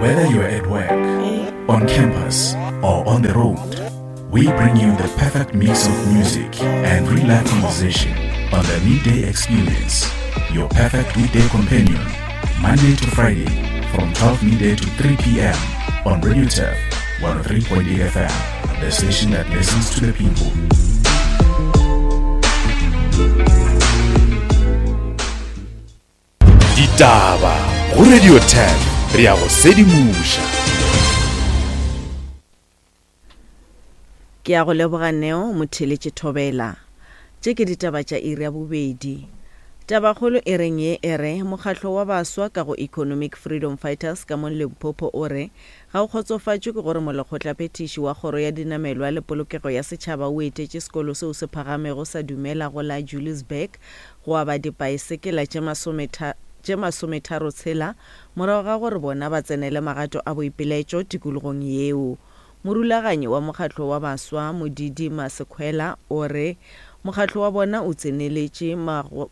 Whether you're at work, on campus, or on the road, we bring you the perfect mix of music and real life conversation on the Midday Experience, your perfect weekday companion, Monday to Friday from 12 midday to 3 p.m. on Radio Turf 103.8 FM, the station that listens to the people. Ditaba go Radio 10 re ya go sedimoša. Ke a go leboga Neo Motheeletše Thobela. Tše ke ditaba tša iri ya bobedi. Tabakgolo e reng ye e re mokgatlo wa baswa ka go Economic Freedom Fighters ka mo Limpopo o re ga o kgotsofatšwe ke gore molekgotlaphethiši wa kgoro ya dinamelwa le polokego ya setšhaba o etetše sekolo seo se phagamego sa Dumela go la Juliusburg go aba dipaesekela tše tše masometharotshela morago ga gore bona ba tsenele magato a boipelaetšo tikologong yeo. Morulaganyi wa mokgatlo wa baswa, Modidi Masekhwela, o re mokgatlo wa bona o tseneletše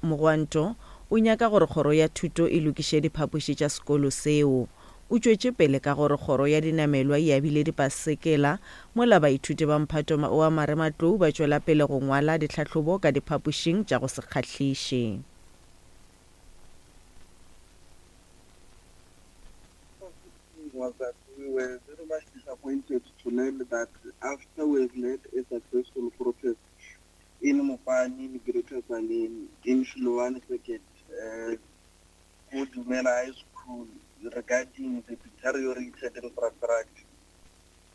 mogwanto o nyaka gore kgoro ya thuto e lokiše diphapoši tša sekolo seo. O tšwetše pele ka gore kgoro ya dinamelwa e abile dipasekela mola baithuti ba mphato wa marematlou ba tšwela pele go ngwala ditlhahlobo ka diphapošing tša go se kgahliše. Was that we were very much disappointed to learn that after we have led a successful protest in Mopani, in Greater Tzaneen, in Shiloane Circuit, uh, Dumela High School regarding the deteriorated infrastructure.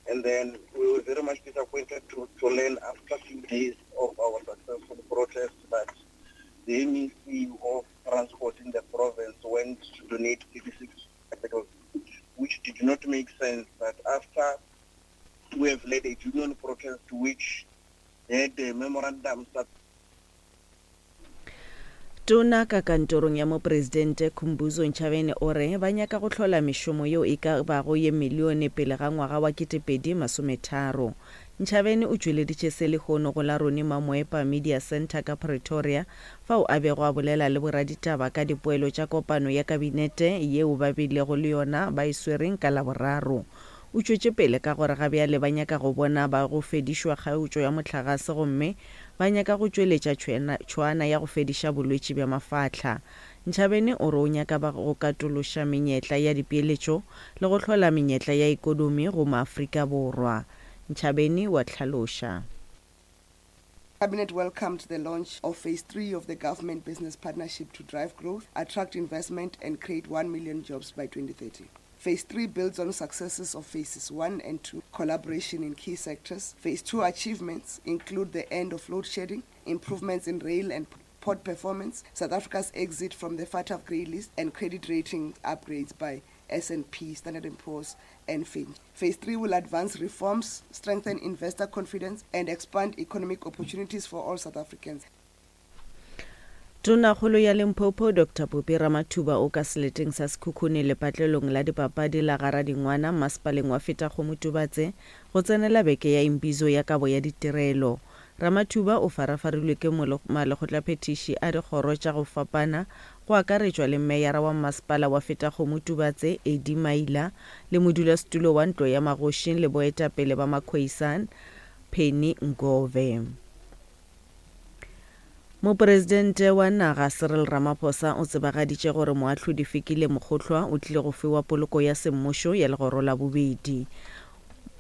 And then we were very much disappointed to, to learn after a few days of our successful protest that the MEC of Transport in the province went to donate 36 bicycles, which did not make sense that after we have led a union protest which had a memorandum Tona ka kantorong ya Mopresidente Khumbudzo Ntshavheni o re ba nyaka go hlola mešomo yeo e ka bago ye milione pele ga ngwaga wa 2030. Ntshavheni o tšweleditše se lehono go la Ronnie Mamoepa Media Centre ka Pretoria fao a bego a bolela le boraditaba ka dipoelo tša kopano ya kabinete yeo ba bilego le yona ba e swereng ka Laboraro. O tšwetše pele ka gore ga bjale ba nyaka go bona ba go fedišwa kgaotšo ya mohlagase gomme ba nyaka go tšweletša tšhwaana ya go fediša bolwetši bja mafahla. Ntshavheni o re o nyaka ba go katološa menyetla ya dipeeletšo le go hlola menyetla ya ekonomi go maAfrika Borwa. Ntshavheni wa hlaloša. Cabinet welcomed the launch of phase 3 of the government business partnership to drive growth, attract investment and create 1 million jobs by 2030. Phase 3 builds on successes of phases 1 and 2, collaboration in key sectors. Phase 2 achievements include the end of load shedding, improvements in rail and port performance, South Africa's exit from the FATF grey list, and credit rating upgrades by S&P, Standard & Poor's, and Fitch. Phase 3 will advance reforms, strengthen investor confidence, and expand economic opportunities for all South Africans. Tonakgolo ya Limpopo Doctor Phophi Ramathuba o ka seleteng sa Sekhukhune lepatlelong la dipapadi la Garadingwana mmasepaleng wa Fetakgomo-Tubatse go tsenela beke ya Imbizo ya kabo ya ditirelo. Ramathuba o farafarilwe ke malekgotlaphethiši a dikgoro tša go fapana go akaretšwa le Meyara wa Mmasepala wa Fetakgomo-Tubatse Eddie Maila le modulasetulo wa Ntlo ya Magošing le boetapele ba Makhoisan Penny Ngove. Mopresidente wa naga Cyril Ramaphosa o tsebagaditše gore moahlodi Fikile Mokgohlwa o tlile go fiwa poloko ya semmušo ya legoro la bobedi.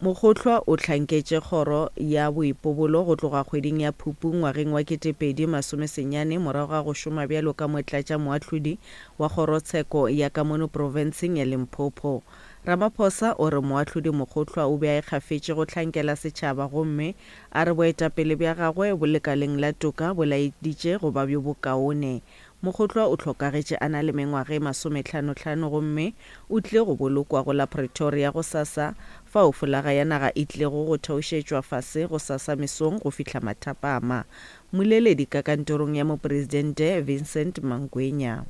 Mokgohlwa o hlanketše kgoro ya boipobolo go tloga kgweding ya Phupu ngwageng wa 2019 morago ga go šoma bjalo ka motlatšamoahlodi wa kgorotsheko ya ka mono profenseng ya Limpopo. Ramaphosa o re moahlodi Mokgohlwa o be a ikgafetše go hlankela setšhaba gomme A re boetapele bja gagwe bo lekaleng la toka bo laeditše go ba bjo bokaone. Mokgotlwa o hlokagetše a na le mengwaga e masomehlanohlano gomme o tlile go bolokwa go la Pretoria gosasa, fao folaga ya naga e tlilego go theošetšwa fase gosasa mesong go fihla mathapama. Mmoleledi ka kantorong ya Mopresidente Vincent Mangwenya.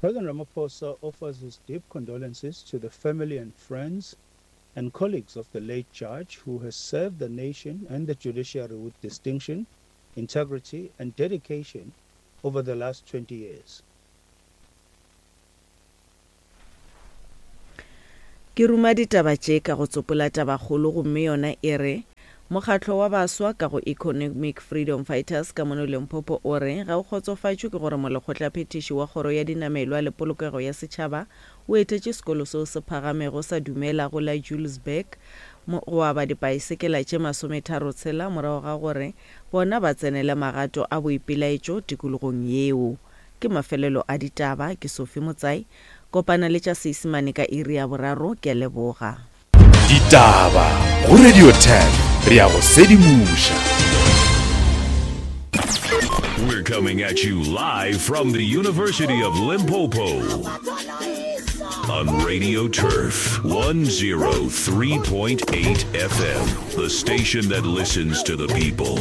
President Ramaphosa offers his deep condolences to the family and friends and colleagues of the late judge who has served the nation and the judiciary with distinction, integrity and dedication over the last 20 years. Ke ruma ditaba tše ka go tsopola tabakgolo gomme yona e re, Mokgatlo wa baswa ka go Economic Freedom Fighters ka mono Limpopo o re ga o kgotsofatšwe ke gore molekgotlaphethiši wa Kgoro ya Dinamelwa le Polokego ya Setšhaba o etetše sekolo seo se phagamego sa Dumela go la Julesburg go aba dipaesekela tše masometharotshela morago ga gore bona ba tsenele magato a boipelaetšo tikologong yeo. Ke mafelelo a ditaba. Ke Sophie Motsai. Kopana le tša Seisemane ka iri ya boraro. Ke a leboga. Ditaba go Radio 10 re a go sedimoša. We're coming at you live from the University of Limpopo on Radio Turf 103.8 FM, the station that listens to the people.